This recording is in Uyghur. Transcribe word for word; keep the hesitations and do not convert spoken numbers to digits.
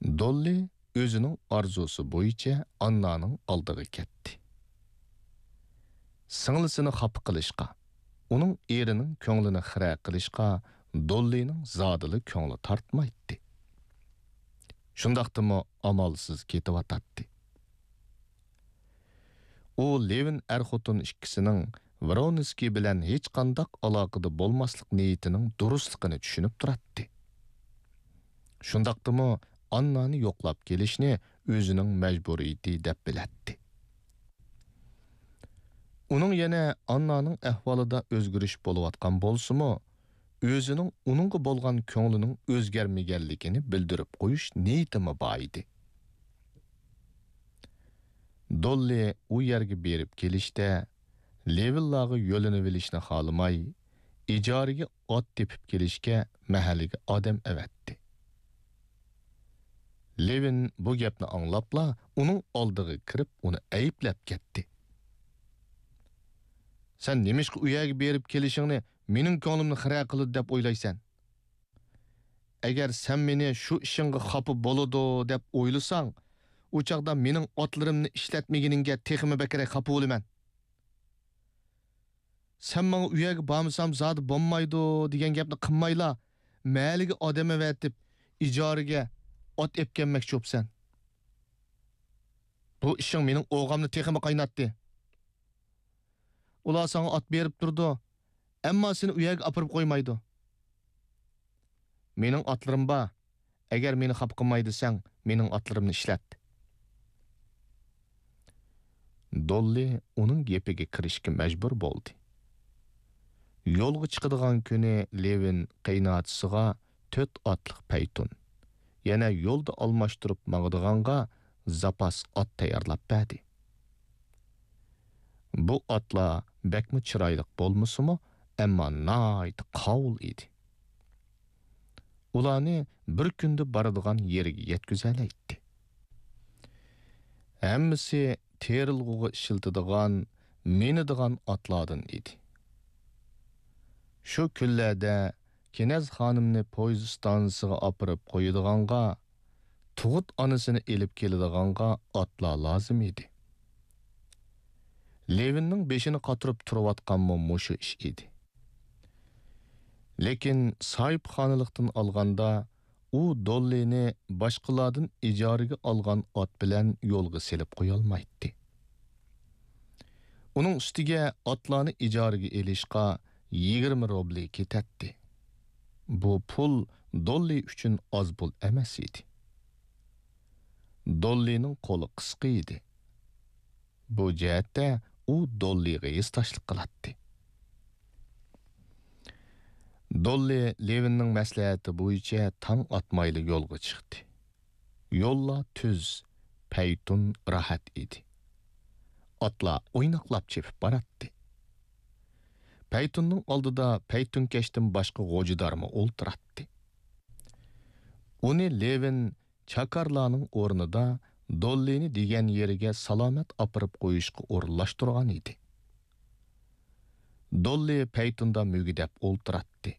دوللى ئۆزىنىڭ ئارزۇسى بويىچە ئاننانىڭ ئالدىغا كەتتى. سىڭلىسىنى خاپا قىلىشقا، ئۇنىڭ ئېرىنىڭ كۆڭلىنى خىرە قىلىشقا دوللىنىڭ زادىلا كۆڭلى تارتمايتتى. شۇنداقتىمۇ ئامالسىز كېتىۋاتاتتى. ئۇ لېۋىن ئەر-خوتۇن ئىككىسىنىڭ ۋرونسكىي بىلەن ھېچقانداق ئالاقىدە بولماسلىق نىيىتىنىڭ دۇرۇسلۇقىنى چۈشىنىپ تۇراتتى. شۇنداقتىمۇ ئاننانى يوقلاپ كېلىشنى ئۆزىنىڭ مەجبۇرىيىتى دەپ بىلەتتى. ئۇنىڭ يەنە ئاننانىڭ ئەھۋالىدا ئۆزگىرىش بولۇۋاتقان بولسىمۇ، ئۆزىنىڭ ئۇنىڭغا بولغان كۆڭلىنىڭ ئۆزگەرمىگەنلىكىنى بىلدۈرۈپ قويۇش نىيىتىمۇ بار ئىدى. دوللى ئۇ يەرگە بېرىپ كېلىشتە، لېۋىنلارغا يۆلىنىۋېلىشنى خالىماي، ئىجارىگە ئات تېپىپ كېلىشكە مەھەللىگە ئادەم ئەۋەتتى. لېۋىن بۇ گەپنى ئاڭلاپلا، ئۇنىڭ ئالدىغا كىرىپ، ئۇنى ئەيىبلەپ كەتتى. سەن نېمىشقا ئۇ يەرگە بېرىپ كېلىشىڭنى مېنىڭ كۆڭلۈمنى خىرە قىلىدۇ دەپ ئويلايسەن؟ ئەگەر سەن مېنى شۇ ئىشىڭغا خاپا بولىدۇ دەپ ئويلىساڭ، ئۇ چاغدا مېنىڭ ئاتلىرىمنى ئىشلەتمىگىنىڭگە تېخىمۇ بەكرەك خاپا بولىمەن. سەن ماڭا ئۇ يەرگە بارمىسام زادى بولمايدۇ دېگەن گەپنى قىلمايلا، مەھەللىگە ئادەم ئەۋەتىپ، ئىجارىگە ئات ئەپكەلمەكچى بوپسەن. بۇ ئىشىڭ مېنىڭ ئوغامنى تېخىمۇ قايناتتى. ئۇلار ساڭا ئات بېرىپ تۇرىدۇ، ئەمما سېنى ئۇ يەرگە ئاپىرىپ قويمايدۇ. مېنىڭ ئاتلىرىم بار. ئەگەر مېنى خاپا قىلماي دېسەڭ، مېنىڭ ئاتلىرىمنى ئىشلەت. دوللى ئۇنىڭ گېپىگە كىرىشكە مەجبۇر بولدى. يولغا چىقىدىغان كۈنى لېۋىن قېيىنئاچىسىغا تۆت ئاتلىق پەيتۇن، يەنە يولدا ئالماشتۇرۇپ ماڭىدىغانغا زاپاس ئات تەييارلاپ بەردى. بۇ ئاتلار بەكمۇ چىرايلىق بولمىسىمۇ، ئەمما ناھايىتى قاۋۇل ئىدى. ئۇلارنى بىر كۈندە بارىدىغان يېرىگە يەتكۈزەلەيتتى. ھەممىسى تېرىلغۇغا ئىشلىتىدىغان، مىنىدىغان ئاتلاردىن ئىدى. شۇ كۈنلەردە كېنەز خانىمنى پويىز ئىستانسىسىغا ئاپىرىپ قويىدىغانغا، تۇغۇت ئانىسىنى ئېلىپ كېلىدىغانغا ئاتلار لازىم ئىدى. لېۋىننىڭ بېشىنى قاتۇرۇپ تۇرۇۋاتقانمۇ مۇشۇ ئىش ئىدى. لېكىن ساھىبخانىلىقتىن ئالغاندا، ئۇ دوللىنى باشقىلاردىن ئىجارىگە ئالغان ئات بىلەن يولغا سېلىپ قويالمايتتى. ئۇنىڭ ئۈستىگە ئاتلارنى ئىجارىگە ئېلىشقا يىگىرمە روبلى كېتەتتى. بۇ پۇل دوللى ئۈچۈن ئاز پۇل ئەمەس ئىدى. دوللىنىڭ قولى قىسقا ئىدى. بۇ جەھەتتە ئۇ دوللىغا ھېسداشلىق قىلاتتى. دوللى لېۋىننىڭ مەسلىھەتى بويىچە تاڭ ئاتمايلا يولغا چىقتى. يوللار تۈز، پەيتۇن راھەت ئىدى. ئاتلار ئويناقلاپ چېپىپ باراتتى. پەيتۇننىڭ ئالدىدا پەيتۇنكەشتىن باشقا غوجىدارمۇ ئولتۇراتتى. ئۇنى لېۋىن چاكارلارنىڭ ئورنىدا دوللىنى دېگەن يېرىگە سالامەت ئاپىرىپ قويۇشقا ئورۇنلاشتۇرغان ئىدى. دوللى پەيتۇندا مۈگدەپ ئولتۇراتتى.